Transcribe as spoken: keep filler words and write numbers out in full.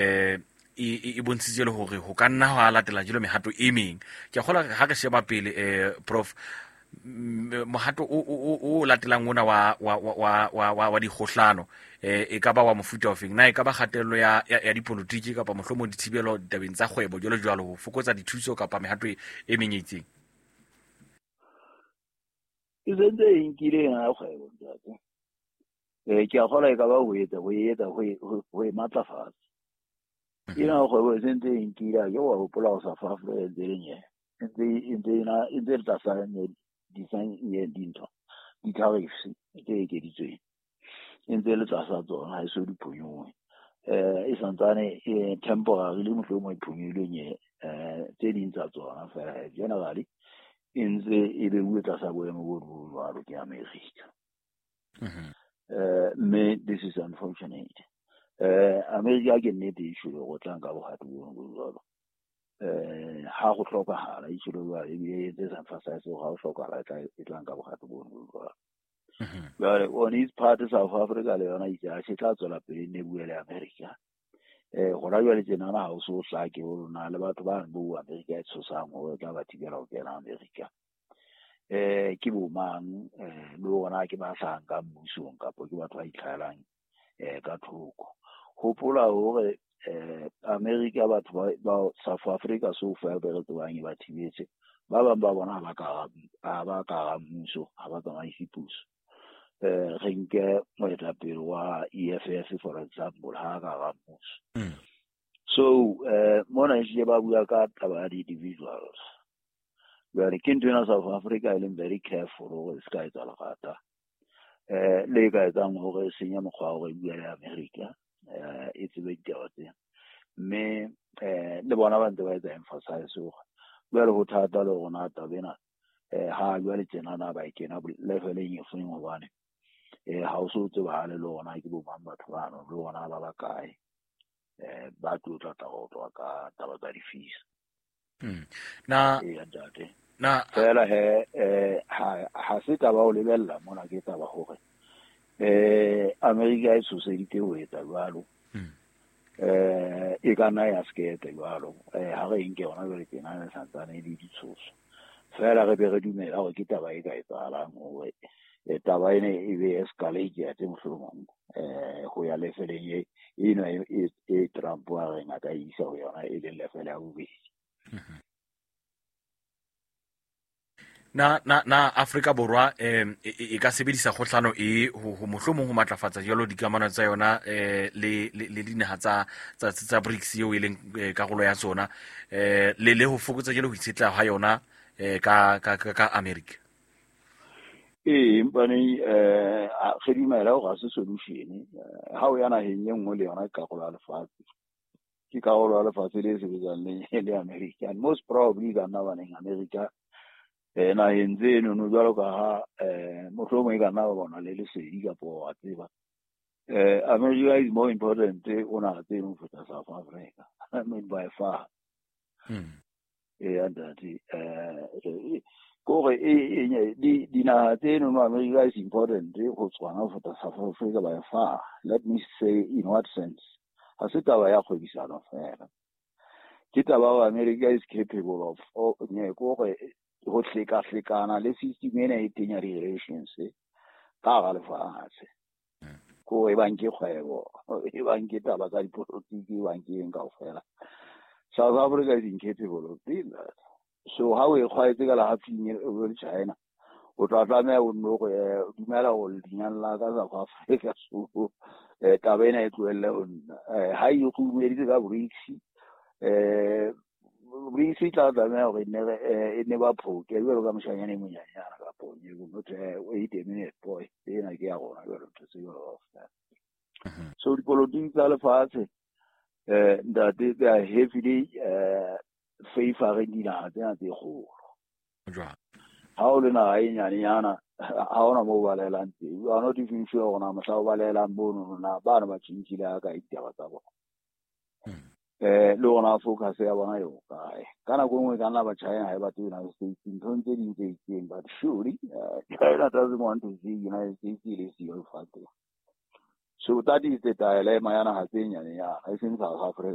eh e e bontshitse le hore ho ka nna ha latela jelo mehato e meng. Ke a kgolwa ha re sheba pele eh Prof mohato o o o latelang ona wa wa wa wa wa wa dikgohlano eh e ka ba wa mofuta ofeng, na e ka ba kgatello ya ya dipolotiki kapa mohlomong dithibelo ditabeng tsa kgwebo jwalo jwalo ho fokotsa dithuso kapa mehato e meng e itseng? E sentse e nkile ya kgwebo ntate. Eh ke a kgolwa e ka ba ho etsa ho etsa ho ho e matlafatsa. Ena kgwebo e sentse e nkile ke wa hopola ho South Africa e ntse e le nye. E ntse e ntse ena e ntse le tlasa nye dintho di-tariffs tse ekeditsweng. E ntse le tlasa tsona ha e so di phonyohe. Eh e santsane e temporarily mohlomong e phonyohile nye eh tse ding tsa tsona fela generally e ntse e beuwe tlasa boemo bo bo jwalo ke America. Eh mme this is unfortunate. Eh America ke nnete e tjholo go tla nka bohato bo bo jwalo. Eh ha go hlokahala e tjholo jwalo ebile e tse sa emphasize hore ha ho hlokahala e tla e tla nka bohato bo bo jwalo. Jwale on its part South Africa le yona itse ha se tla tswela pele ne bue le America. Eh hona jwale tjenana ha o so hlake hore na le batho ba bo America e tshosang hore tla ba thibela ho kena America. Eh ke bo mang eh le hore ke ba hlahang ka mmusong kapa ke batho ba itlhahelang eh ka thoko. Hopola hore eh America batho ba ba South Africa so far be re tsebang e ba thibetse. Ba bang ba bona ha ba ka ha ba ka mmuso ha ba tsamaise puso. Eh re nke moetapele wa E F F for example ha ka ga mmuso. So eh mona ehlile ba bua ka taba ya di-individuals. Jwale ke ntho ena South Africa e leng very careful hore e se ka etsa lerata. Eh le ka etsang hore e senye mokgwa wa hore e bue le America eh e tsebe ditaba tsena. Mme eh le bona ba ntse ba etsa emphasize hore jwale ho thata le rona taba ena eh ha jwale tjenana ba e kena leveleng e feng hobane eh ha o so tsebahale le hona ke bo mang batho bano le hona ba ba kae eh ba tlo tla tla ho tloha ka taba tsa di-fees. Mm. Na e ntate na fela he eh ha ha se taba o lebella mona ke taba hore eh America e tshoseditse ho etsa jwalo. Mm. Eh e ka nna ya se ke jwalo eh ha re nke yona jwale tjena e santsane e le ditshoso. Fela re be re dumela hore ke taba e ka etsahalang hore taba ene e be escalate ya teng mohlomong eh ho ya lefeleng e eno e e Trump a reng a ka isa ho yona e leng level ya bobedi. Na na na Afrika Borwa eh e ka sebedisa kgohlano e ho ho mohlomong ho matlafatsa jalo dikamano tsa yona eh le le dinaha tsa tsa tsa BRICS eo e leng karolo ya tsona eh le le ho fokotsa jalo ho itshetleha ha yona eh ka ka ka America? Ee, empa eh re dumela hore ha se solution. Ha o ya naheng e nngwe le yona ke karolo ya lefatshe. Ke karolo ya lefatshe le sebetsang le le America. And most probably ka nna baneng America eh naheng tseno no jwalo ka ha eh mohlomong e ka nna ba bona le lesedi kapa wa tseba. Eh America is more important o naha tseno ho feta South Africa. I mean by far. Mm. Eh ntate eh kore e e di dinaha tseno no America is important ho tshwana ho feta South Africa by far. Let me say in what sense? Ha se taba ya kgwebisano fela. Ke taba wa America is capable of nye kore ho hlekahlekana le system ena e teng ya di-relations ka hara lefatshe. Ko e bang ke kgwebo, e bang ke taba tsa dipolotiki, e bang ke eng kaofela. South Africa is incapable of doing that. So ha o e kgwaetse ka lehafing e le China, o tla tlameha o nno hore dumela hore lenyalo la ka South Africa so eh taba ena e tlohelle ho nna. Eh ha e kgumeditse ka BRICS eh BRICS e tla tlameha hore ne e ne ba phoke jwalo ka moshanyana e monyenyana kapa o nye motho wait a minute boy ena ke ya rona jwalo ntho tse jwalo kaofela. So dipolotiki tsa lefatshe eh ntate they are heavily eh favoring dinaha tsena tse kgolo. Jwang? Ha o le naha e nyanenyana ha hona moo ba balehelang teng. You are not even sure hore na mohla o balehelang mono na bana ba tjhentjhile ha kae ditaba tsa bona. Eh le hona focus ya bona e ho kae. Ka nako e nngwe e ka nna ba China ha e batle United States nthong tse ding tse itseng, but surely China doesn't want to see United States e le siyo lefatsheng. So that is the dilemma ya naha tse nyanenyana, e seng South Africa.